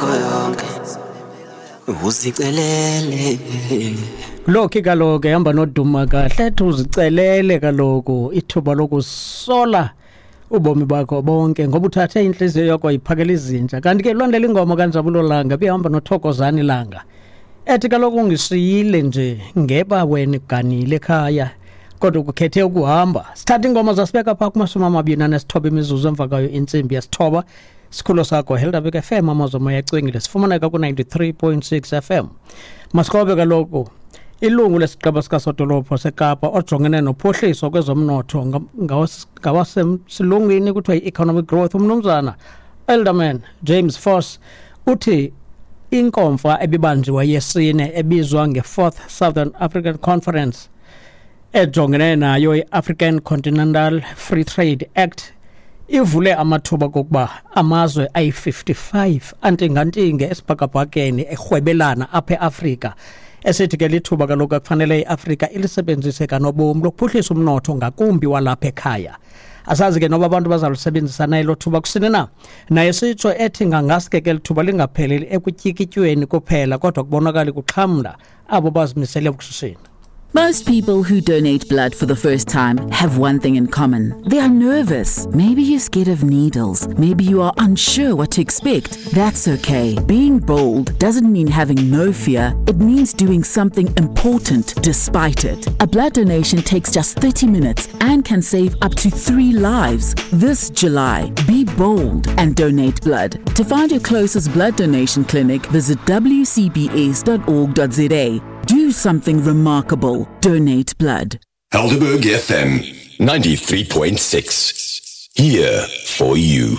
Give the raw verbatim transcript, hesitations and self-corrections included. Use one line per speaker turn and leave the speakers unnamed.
Yonke uzicelele.
Lokhi kaloku ehamba noduma kahle, ethi uzicelele kaloku ithuba lokusola ubomi bakho bonke ngoba uthathe inhliziyo yakho wayiphakela izinja. Kanti ke lwandela ingoma kaNjabulo Langa bihamba noThokozani Langa, ethi kaloku ungisiyile nje ngeba wena uganile ekhaya kodwa ukukhethe ukuhamba. Sithatha ingoma zasibeka phaa kumashumi amabini anesithoba imizuzu emva kwayo intsimbi yesithoba. Sikhululo sakho Helderberg F M, amazwi omoya acwengile, sifumaneka ku-ninety-three point six F M. Masikhobe kaloku ilungu lesigqeba sikasodolophu seKapa ojongene nophuhliso kwezomnotho, ngawasemsilungwini kuthiwa yi-economic growth, umnumzana Alderman James Vos, uthi inkomfa ebibanjiwe yesine ebizwa nge-Fourth Southern African Conference ejongene nayo i-African Continental Free Trade Act ivule amathuba kokuba amazwe ayi-fifty-five antingantinge esibhakabhakeni erhwebelana apha eAfrika. Esithi ke lithuba kaloku akufanele iAfrika ilisebenzise kanobomi lokuphuhlisa umnotho, ngakumbi walapha ekhaya. Asazi ke noba abantu bazalusebenzisa na elo thuba kusini na. Naye sitsho ethi ngangaske ke lithuba lingapheleli ekutyikityweni kuphela, kodwa kubonakala kuxhamla abo bazimisele ukushishina.
Most people who donate blood for the first time have one thing in common. They are nervous. Maybe you're scared of needles. Maybe you are unsure what to expect. That's okay. Being bold doesn't mean having no fear. It means doing something important despite it. A blood donation takes just thirty minutes and can save up to three lives. This July, be bold and donate blood. To find your closest blood donation clinic, visit w c b s dot org dot z a. Do something remarkable. Donate blood.
Helderberg F M ninety-three point six. Here for you.